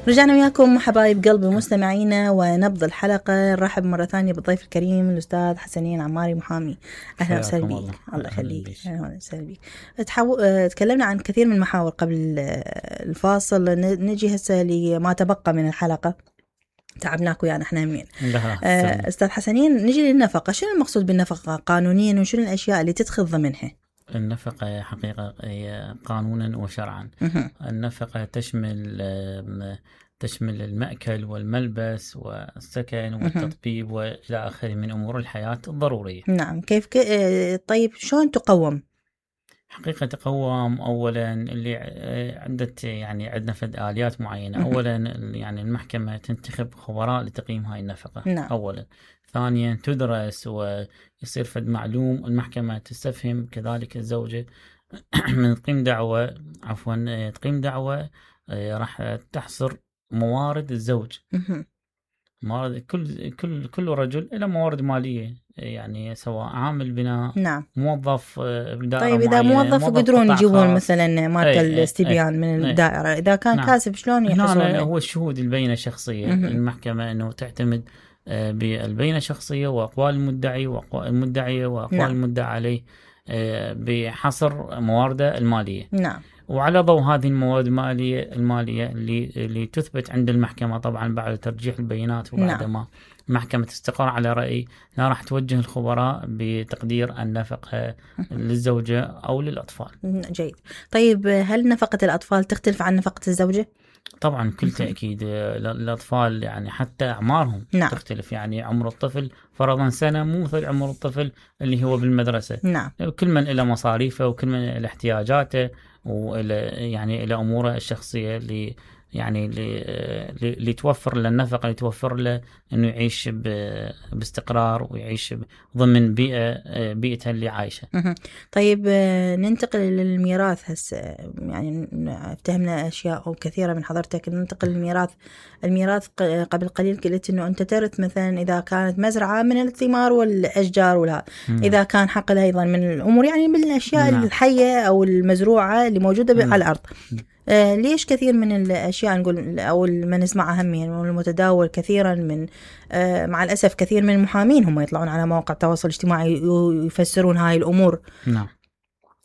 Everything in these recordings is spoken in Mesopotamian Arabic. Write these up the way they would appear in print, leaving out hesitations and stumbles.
رجعنا وياكم حبايب قلبي مستمعينا ونبض الحلقة. نرحب مرة ثانية بالضيف الكريم الأستاذ حسنين عماري محامي. أهلا وسهلا بك. الله يخليك. أهلا وسهلا بك. تكلمنا عن كثير من المحاور قبل الفاصل. نجي هسه لما تبقى من الحلقة. تعبناكم يعني احنا همين. أستاذ حسنين، نجي للنفقة. شنو المقصود بالنفقة قانونيا وشنو الأشياء اللي تدخل ضمنها؟ النفقة حقيقة هي قانونا وشرعا. النفقة تشمل المأكل والملبس والسكن والتطبيب وإلى آخره من أمور الحياة الضرورية. نعم. كيف طيب شلون تقوم؟ حقيقة تقوم أولا اللي عندنا فد آليات معينة. أولا يعني المحكمة تنتخب خبراء لتقييم هاي النفقة. نعم. أولا. ثانيا تدرس ويصير فد معلوم. المحكمة تستفهم كذلك الزوجة من تقيم دعوة راح تحصر موارد الزوج. موارد كل رجل له موارد مالية، يعني سواء عامل بناء. نعم. موظف بدائرة. طيب إذا موظف يقدرون يجيبون مثلا ماركة الاستبيان من الدائرة. إذا كان نعم. كاسب شلون يحصلون؟ هو الشهود البينة الشخصية. المحكمة أنه تعتمد بالبينة الشخصية وأقوال المدعية وأقوال نعم. المدعى عليه بحصر موارده المالية. نعم. وعلى ضوء هذه الموارد المالية اللي تثبت عند المحكمة طبعا بعد ترجيح البيانات وبعد ما المحكمة تستقر على رأي، لا راح توجه الخبراء بتقدير النفقة للزوجة أو للأطفال. جيد. طيب هل نفقة الأطفال تختلف عن نفقة الزوجة؟ طبعا كل تأكيد. الأطفال يعني حتى أعمارهم نعم. تختلف. يعني عمر الطفل فرضا سنة مو مثل عمر الطفل اللي هو بالمدرسة. نعم. كل من إلى مصاريفه وكل من إلى احتياجاته إلى أموره الشخصية اللي توفر له النفقة، اللي توفر له إنه يعيش باستقرار ويعيش ضمن بيئته اللي عايشة. طيب ننتقل للميراث هسه. يعني افتهمنا أشياء كثيرة من حضرتك. ننتقل للميراث. الميراث قبل قليل قلت إنه أنت ترث مثلا إذا كانت مزرعة من الثمار والأشجار ولا إذا كان حقل أيضا من الأمور، يعني من الأشياء الحية أو المزروعة اللي موجودة على الأرض. ليش كثير من الأشياء نقول أو ما نسمعها هم يعني المتداول كثيرا من مع الأسف كثير من المحامين هم يطلعون على مواقع التواصل الاجتماعي يفسرون هاي الأمور. نعم.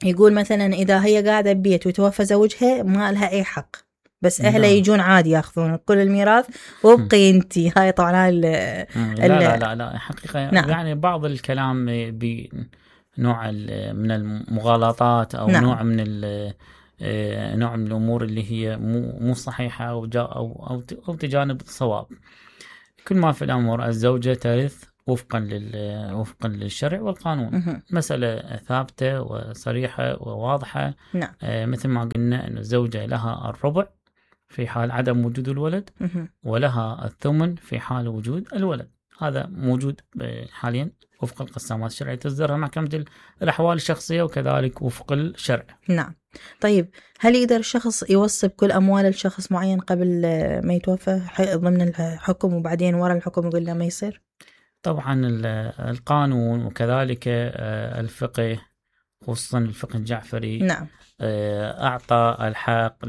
يقول مثلا إذا هي قاعدة ببيت وتوفى زوجها ما لها أي حق، بس أهله يجون عادي يأخذون كل الميراث وابقي انتي. هاي طبعا لا حقيقة. نعم. يعني بعض الكلام بنوع من المغالطات أو نعم. نوع من الأمور اللي هي مو صحيحة أو تجانب الصواب. كل ما في الأمر الزوجة ترث وفقا للشرع والقانون. مسألة ثابتة وصريحة وواضحة. نعم. مثل ما قلنا أن الزوجة لها الربع في حال عدم وجود الولد، ولها الثمن في حال وجود الولد. هذا موجود حاليا وفق القسامات الشرعية تصدرها محكمة الأحوال الشخصية وكذلك وفق الشرع. نعم. طيب هل يقدر الشخص يوصي بكل أموال الشخص معين قبل ما يتوفى ضمن الحكم وبعدين وراء الحكم يقول له ما يصير؟ طبعا القانون وكذلك الفقه خصوصا الفقه الجعفري. نعم. أعطى الحق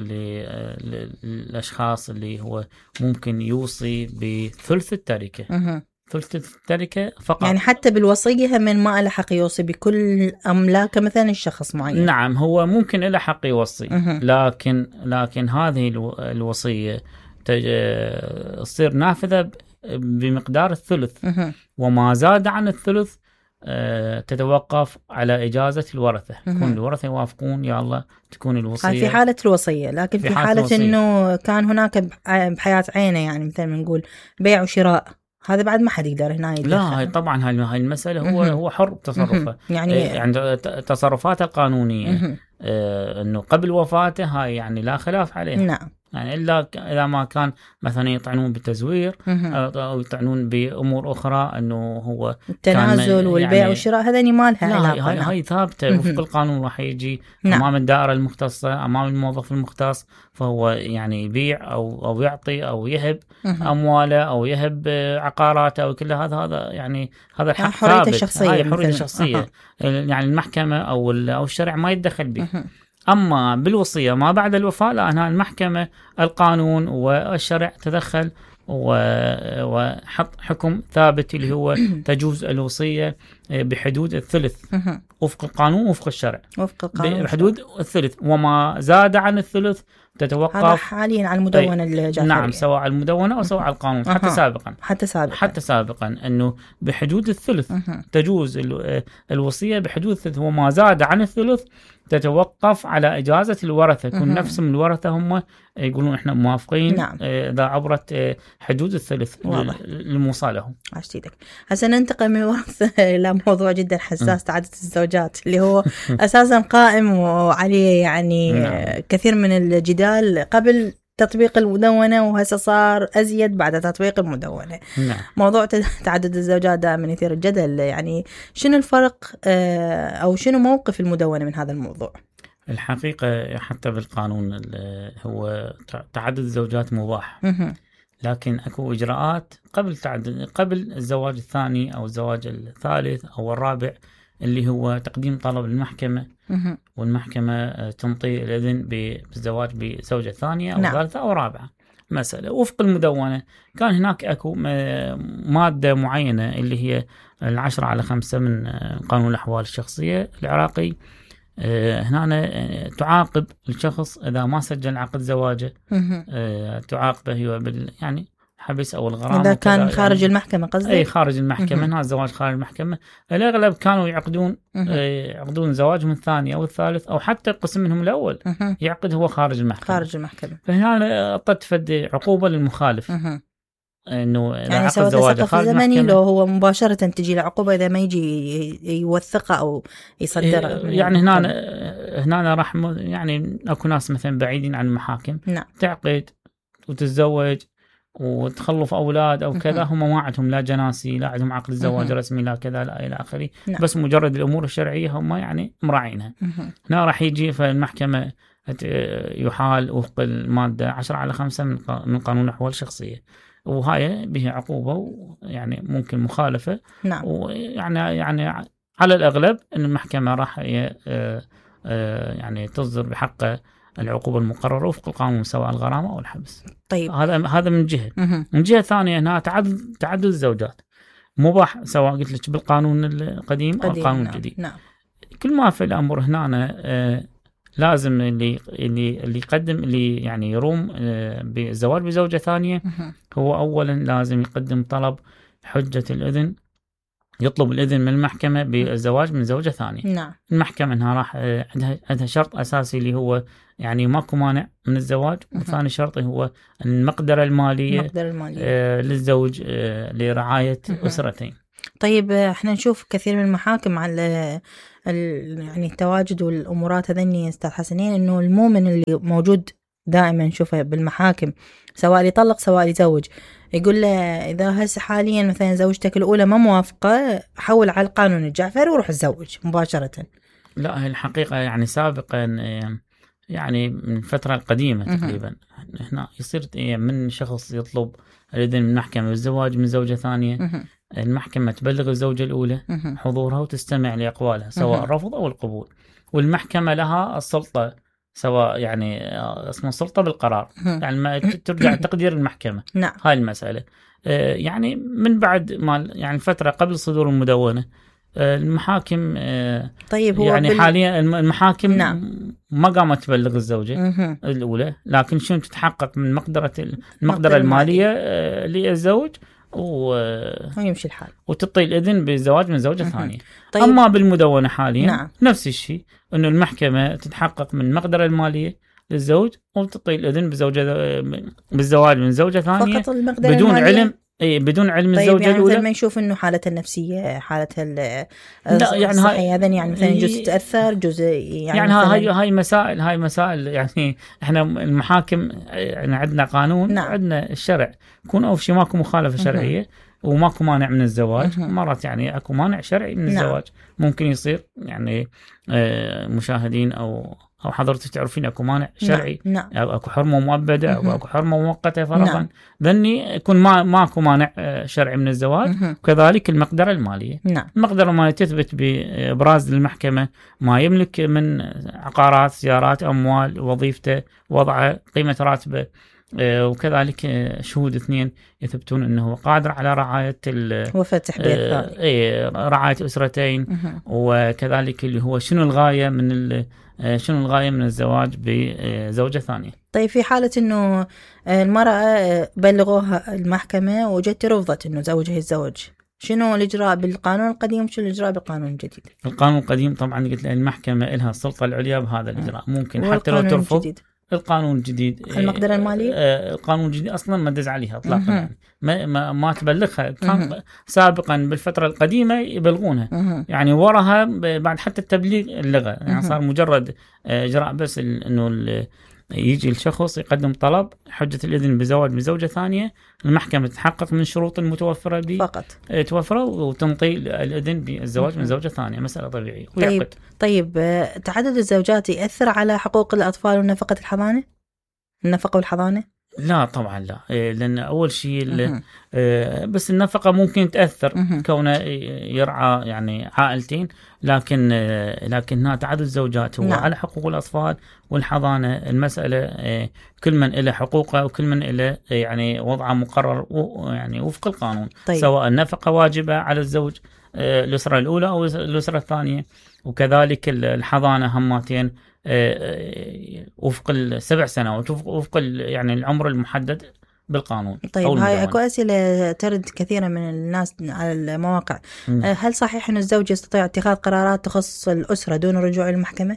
للأشخاص اللي هو ممكن يوصي بثلث التركة. ثلث التركة فقط. يعني حتى بالوصية من ما له حق يوصي بكل أملاك مثلا الشخص معين. نعم. هو ممكن له حق يوصي. لكن هذه الوصية تصير نافذة بمقدار الثلث. وما زاد عن الثلث تتوقف على إجازة الورثة. يكون الورثة يوافقون يا الله تكون الوصية في حالة الوصية. لكن في حالة إنه كان هناك بحياة عينه، يعني مثلا نقول بيع وشراء، هذا بعد ما حد يقدر هنا يدخل. لا هاي طبعا هاي المسألة هو حر بتصرفه. يعني عند تصرفاته القانونية إنه قبل وفاته هاي يعني لا خلاف عليه. نعم. يعني إلا إذا ما كان مثلا يطعنون بالتزوير أو يطعنون بأمور أخرى إنه هو التنازل والبيع يعني والشراء، هذا ما لها علاقة. هاي ثابتة وفق القانون. راح يجي أمام الدائرة المختصة، أمام الموظف المختص، فهو يعني يبيع أو يعطي أو يهب أمواله أو يهب عقاراته أو كل هذا يعني هذا الحق ثابت. هاي حرية شخصية. يعني المحكمة أو الشرع ما يتدخل به. أما بالوصية ما بعد الوفاة لا، هنا المحكمة القانون والشرع تدخل وحط حكم ثابت اللي هو تجوز الوصية بحدود الثلث وفق القانون وفق الشرع، بحدود الثلث، وما زاد عن الثلث تتوقف. هذا حاليا على المدونة الجعفرية. نعم، سواء على المدونة أو سواء على القانون. حتى سابقا أنه بحدود الثلث تجوز الوصية بحدود الثلث، وما زاد عن الثلث تتوقف على إجازة الورثة. يكون نفسهم الورثة هم يقولون إحنا موافقين إذا عبرت حدود الثلث الموصى لهم. عشتيدك. هسه ننتقل من الورثة إلى موضوع جدا حساس، تعدد الزوجات، اللي هو أساسا قائم وعليه يعني كثير من الجدال قبل تطبيق المدونة، وهسه صار أزيد بعد تطبيق المدونة. موضوع تعدد الزوجات دائما يثير الجدل. يعني شنو الفرق أو شنو موقف المدونة من هذا الموضوع؟ الحقيقة حتى بالقانون هو تعدد الزوجات مباح، لكن اكو اجراءات قبل الزواج الثاني او الزواج الثالث او الرابع، اللي هو تقديم طلب للمحكمة، والمحكمة تنطي الإذن بالزواج بزوجة ثانية أو ثالثة أو رابعة. مسألة وفق المدونة كان هناك أكو مادة معينة اللي هي 10/5 من قانون الأحوال الشخصية العراقي. هنا تعاقب الشخص إذا ما سجل عقد زواجه، تعاقبه هو يعني حبس او الغرامه اذا كان خارج يعني المحكمه، قصدي اي خارج المحكمه. هنا الزواج خارج المحكمه الاغلب كانوا يعقدون زواجهم الثاني او الثالث، او حتى قسم منهم الاول يعقد هو خارج المحكمه. فهنا اعطت فد عقوبه للمخالف، انه يعني سواء تسقف زمني لو هو مباشره تجي له عقوبه اذا ما يجي يوثقه او يصدره. يعني هنا راح يعني اكو ناس مثلا بعيدين عن المحاكم تعقد وتتزوج وتخلف أولاد أو كذا، هم ما عندهم لا جناسي لا عندهم عقد الزواج رسمي لا كذا لا إلى آخره، بس مجرد الأمور الشرعية هم يعني مراعينها. هنا راح يجي فالمحكمة يحال وفق المادة 10/5 من قانون الأحوال الشخصية، وهاي به عقوبة يعني ممكن مخالفة. ويعني على الأغلب أن المحكمة راح يعني تصدر بحق العقوبة المقررة وفق القانون، سواء الغرامة أو الحبس. طيب هذا من جهة. من جهة ثانية هنا تعدد الزوجات مباح، سواء قلت لك بالقانون القديم أو القانون الجديد. كل ما في الأمر هنا لازم اللي يقدم اللي يعني يروم بالزواج بزوجة ثانية هو أولا لازم يقدم طلب حجة الإذن، يطلب الإذن من المحكمة بالزواج من زوجة ثانية. المحكمة انها راح عندها شرط أساسي اللي هو يعني ماكو مانع من الزواج، وثاني شرط هو المقدرة المالية للزوج لرعاية أسرتين. طيب احنا نشوف كثير من المحاكم على يعني التواجد والأمورات هذني أستاذ حسنين، إنه المؤمن اللي موجود دائما نشوفه بالمحاكم سواء يطلق سواء يزوج، يقول له إذا هسه حاليا مثلا زوجتك الأولى ما موافقة، حول على القانون الجعفري وروح تزوج مباشرة. لا، الحقيقة يعني سابقا يعني من الفترة القديمة تقريبا هنا يصير من شخص يطلب الإذن من المحكمة بالزواج من زوجة ثانية، المحكمة تبلغ الزوجة الأولى حضورها وتستمع لأقوالها سواء الرفض أو القبول، والمحكمة لها السلطة سواء يعني اسمه سلطة بالقرار، يعني ما ترجع تقدير المحكمة. هاي المسألة يعني من بعد ما يعني فترة قبل صدور المدونة المحاكم طيب هو يعني حاليا المحاكم ما قامت تبلغ الزوجة الأولى، لكن شنو تتحقق من المقدرة المالية للزوج ويمشي الحال وتعطي الإذن بالزواج من زوجة ثانية. طيب. أما بالمدونة حاليا نفس الشيء، إنه المحكمة تتحقق من المقدرة المالية للزوج وتعطي الإذن بالزواج من زوجة ثانية بدون علم بدون علم طيب الزوجة الأولى. ما يشوف إنه حالتها النفسية حالتها الصحية هذا يعني مثلا جزء تأثر جزء يعني هاي مسائل يعني إحنا المحاكم يعني عندنا قانون عندنا الشرع، يكون أول شيء ماكو مخالفة شرعية وماكو مانع من الزواج. مرات يعني اكو مانع شرعي من الزواج ممكن يصير، يعني مشاهدين او أو حضرتك تعرفين أكو مانع شرعي، نعم. أو أكو حرمة مؤبدة أو أكو حرمة مؤقتة فرضا، ذني يكون ماكو مانع شرعي من الزواج. وكذلك المقدرة المالية. نعم. المقدرة المالية تثبت بإبراز للمحكمة ما يملك من عقارات، سيارات، أموال، وظيفته، وضعه، قيمة راتبه، وكذلك شهود 2 يثبتون أنه قادر على رعاية وفاة رعاية أسرتين. وكذلك اللي هو شنو الغاية من الزواج بزوجة ثانية. طيب في حالة أنه المرأة بلغوها المحكمة وجت رفضت أنه زوجها يتزوج، شنو الإجراء بالقانون القديم وشنو الإجراء بالقانون الجديد؟ القانون القديم طبعا قلت المحكمة لها السلطة العليا بهذا الإجراء، ممكن حتى لو ترفض. الجديد. القانون الجديد المقدرة المالية القانون الجديد أصلا ما دز عليها إطلاقا، يعني ما تبلغها. كان سابقا بالفترة القديمة يبلغونها، يعني وراها بعد حتى التبليغ اللغة، يعني صار مجرد إجراء بس إنه يجي الشخص يقدم طلب حجة الإذن بزواج بزوجة ثانية، المحكمة تحقق من شروط المتوفرة به فقط توفره وتنطي الإذن بالزواج من زوجة ثانية، مسألة طبيعية. طيب تعدد الزوجات يأثر على حقوق الأطفال ونفقة الحضانة؟ النفقة والحضانة؟ لا طبعا لا، لأن أول شيء بس النفقة ممكن تأثر كونه يرعى يعني عائلتين، لكن تعدد الزوجات هو على حقوق الأطفال والحضانة. المسألة كل من له حقوقه وكل من له يعني وضعه مقرر يعني وفق القانون. طيب. سواء النفقة واجبة على الزوج الأسرة الأولى أو الأسرة الثانية، وكذلك الحضانة هماتين وفق 7 سنوات وفق يعني العمر المحدد بالقانون. طيب هاي اكو اسئله ترد كثيره من الناس على المواقع. هل صحيح ان الزوج يستطيع اتخاذ قرارات تخص الاسره دون الرجوع للمحكمه؟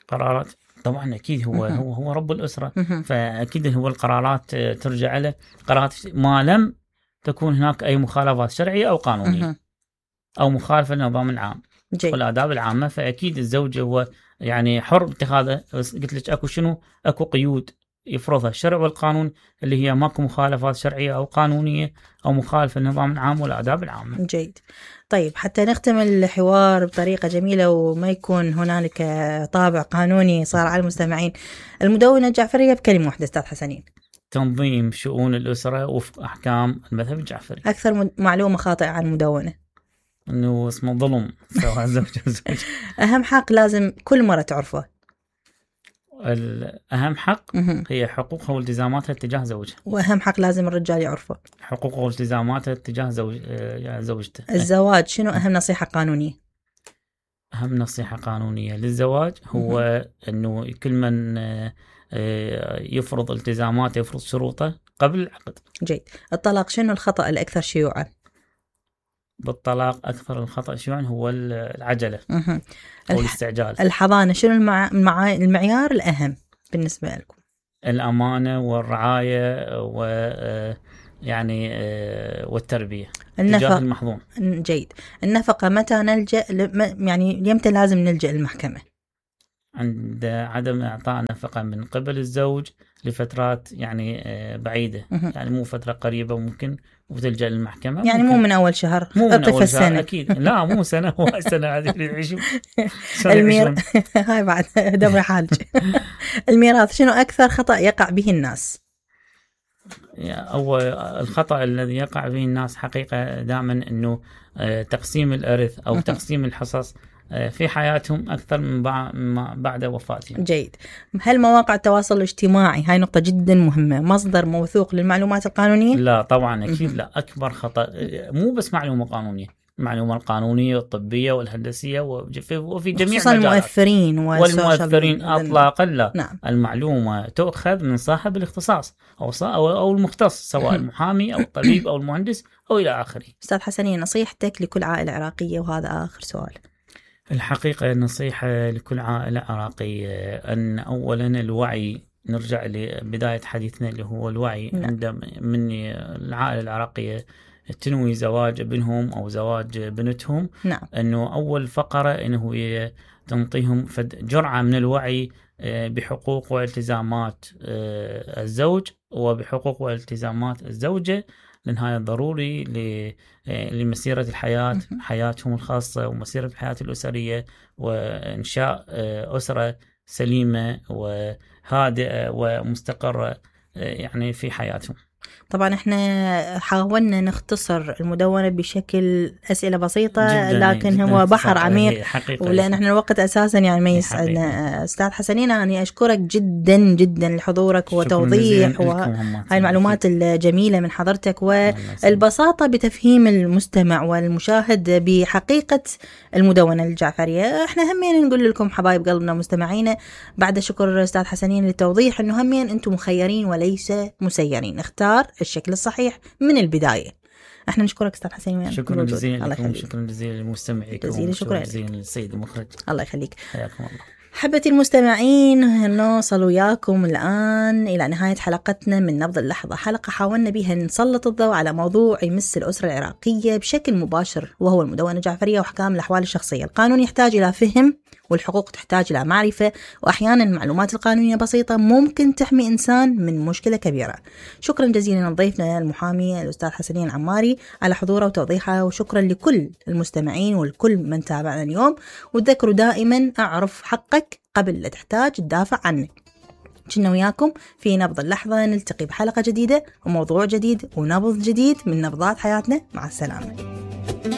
قرارات طبعا اكيد هو رب الاسره، فاكيد هو القرارات ترجع له، قرارات ما لم تكون هناك اي مخالفات شرعيه او قانونيه او مخالفه للنظام العام والآداب العامه، فاكيد الزوج هو يعني حر باتخاذه. بس قلت لك اكو قيود يفرضها الشرع والقانون، اللي هي ماكو مخالفات شرعيه او قانونيه او مخالفه للنظام العام والآداب العامه. جيد. طيب حتى نختم الحوار بطريقه جميله وما يكون هنالك طابع قانوني صار على المستمعين، المدونه الجعفريه بكلمه واحده استاذ حسنين. تنظيم شؤون الاسره وفق احكام المذهب الجعفري. اكثر معلومه خاطئه عن المدونه انه اسمه ظلم سواء زوج او زوج. اهم حق لازم كل مره تعرفه. الأهم حق هي حقوقها والتزاماتها تجاه زوجها. وأهم حق لازم الرجال يعرفه حقوقه والتزاماتها تجاه زوجته. الزواج شنو أهم نصيحة قانونية؟ أهم نصيحة قانونية للزواج هو أنه كل من يفرض التزاماته يفرض شروطه قبل العقد. جيد. الطلاق شنو الخطأ الأكثر شيوعا؟ بالطلاق أكثر الخطأ شيوعا هو العجلة أو الاستعجال. الحضانة شنو المعيار الأهم بالنسبة لكم؟ الأمانة والرعاية يعني والتربية تجاه المحظون. جيد. النفقة متى نلجأ يعني يمتى لازم نلجأ للمحكمة؟ عند عدم إعطاء نفقة من قبل الزوج لفترات يعني بعيدة، يعني مو فترة قريبة ممكن وتلجأ للمحكمة، يعني مو من أول شهر، مو من أول شهر أكيد. لا مو سنة، هو سنة هذه اللي يعيشون هاي بعد دبر حالج. الميراث شنو أكثر خطأ يقع به الناس؟ أول الخطأ الذي يقع به الناس حقيقة دائما أنه تقسيم الإرث أو تقسيم الحصص في حياتهم أكثر من بعد وفاتهم. جيد. هل مواقع التواصل الاجتماعي هاي نقطة جدا مهمة مصدر موثوق للمعلومات القانونية؟ لا طبعا أكيد لا. أكبر خطأ مو بس معلومة قانونية، المعلومة القانونية والطبية والهندسية وفي جميع المجالات والمؤثرين أطلاقا لا. نعم. المعلومة تؤخذ من صاحب الاختصاص أو المختص، سواء المحامي أو الطبيب أو المهندس أو إلى آخره. أستاذ حسنين نصيحتك لكل عائلة عراقية، وهذا آخر سؤال. الحقيقة النصيحة لكل عائلة عراقية أن أولا الوعي، نرجع لبداية حديثنا اللي هو الوعي. عند من العائلة العراقية تنوي زواج ابنهم أو زواج بنتهم، أنه أول فقرة أنه تنطيهم جرعة من الوعي بحقوق والتزامات الزوج وبحقوق والتزامات الزوجة لأن هذا ضروري لمسيرة الحياة، حياتهم الخاصة ومسيرة الحياة الأسرية، وإنشاء أسرة سليمة وهادئة ومستقرة يعني في حياتهم. طبعا احنا حاولنا نختصر المدونة بشكل أسئلة بسيطة جداً لكن جداً هو بحر عميق، ولأن احنا الوقت أساسا يعني ما يسعدنا. أستاذ حسنين أنا أشكرك جدا جدا لحضورك وتوضيح وهاي المعلومات الجميلة من حضرتك والبساطة بتفهيم المستمع والمشاهد بحقيقة المدونة الجعفرية. احنا همين نقول لكم حبايب قلبنا مستمعينا بعد شكر أستاذ حسنين للتوضيح انه همين انتم مخيرين وليس مسيرين، اختار الشكل الصحيح من البداية. احنا نشكرك أستاذ حسين. شكرا جزيلا لكم، شكرا جزيلا للمستمعين، شكرا جزيلا للسيد المخرج. الله يخليك. حياكم الله. حبتي المستمعين، نوصل وياكم الآن إلى نهاية حلقتنا من نبض اللحظة، حلقة حاولنا بها نسلط الضوء على موضوع يمس الأسرة العراقية بشكل مباشر وهو المدونة الجعفرية وأحكام الأحوال الشخصية. القانون يحتاج إلى فهم والحقوق تحتاج إلى معرفة، وأحيانا المعلومات القانونية بسيطة ممكن تحمي إنسان من مشكلة كبيرة. شكرا جزيلا لضيفنا المحامي الأستاذ حسنين عماري على حضوره وتوضيحه، وشكرا لكل المستمعين والكل من تابعنا اليوم. وتذكروا دائما أعرف حقك قبل لا تحتاج تدافع عنه. كنا وياكم في نبض اللحظة، نلتقي بحلقة جديدة وموضوع جديد ونبض جديد من نبضات حياتنا. مع السلامة.